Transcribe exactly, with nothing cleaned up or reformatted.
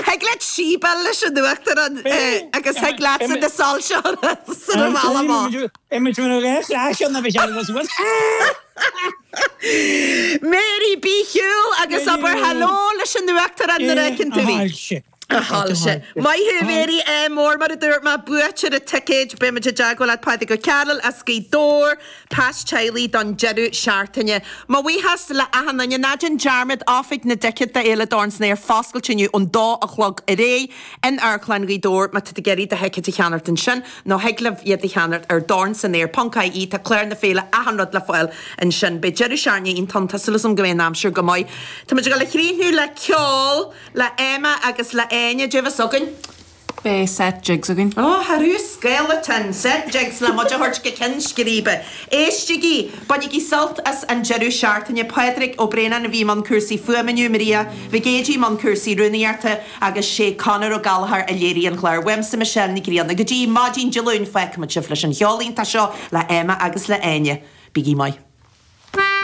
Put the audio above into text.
Thig leat síobadh leis an Uachtarán agus thig leatsa na soilse san bhaile. Mary bí ar shiúl agus abair hello leis an Uachtarán nuair a fheiceann tú í. A shoilse. Maith thú Mary é mór mar a dúirt mé buaiteoir an ticéid beimid i dteagmháil leat Pádraig Ó Cearúil as Gaoth Dobhair, pas teaghlaigh don deireadh seachtaine. Mo bhuíochas le achan duine, ná déan dearmad oifig na dticéad d'Fhéile Dorn san Aer foscailte inniu ón dó a chlog ar aghaidh in Amharclann Ghaoth Dobhair má tá tú ag iarraidh do thicéid a cheannacht ansin nó thig libh iad a cheannacht ar dornsanaer ponc ie tá clár na féile achan rud le fáil ansin. Beidh deireadh seachtaine iontach ann, tá súil agam go mbeidh an aimsir go maith. Tá muid ag dul a chríochnú le ceol le Emma agus le Áine, cad é a bheas againn? Beidh set jigs againn. Ó, tharú skeleton, set jigs le muid a thabhairt go ceann scríbe. Éistigí, bainigí sult as an deireadh seachtaine. Pádraig Ó Braonáin a bhí i mbun cúrsaí fuaime inniu, Maria Mhic Géidigh i mbun cúrsaí rúnaíochta agus sé Conor Ó Gallchóir a léirigh an clár. Uaimse Michelle Ní Ghrianna. Go dtí maidin Dé Luain fágfaimid sibh leis an cheol iontach seo le Emma agus le Áine. Bígí maith.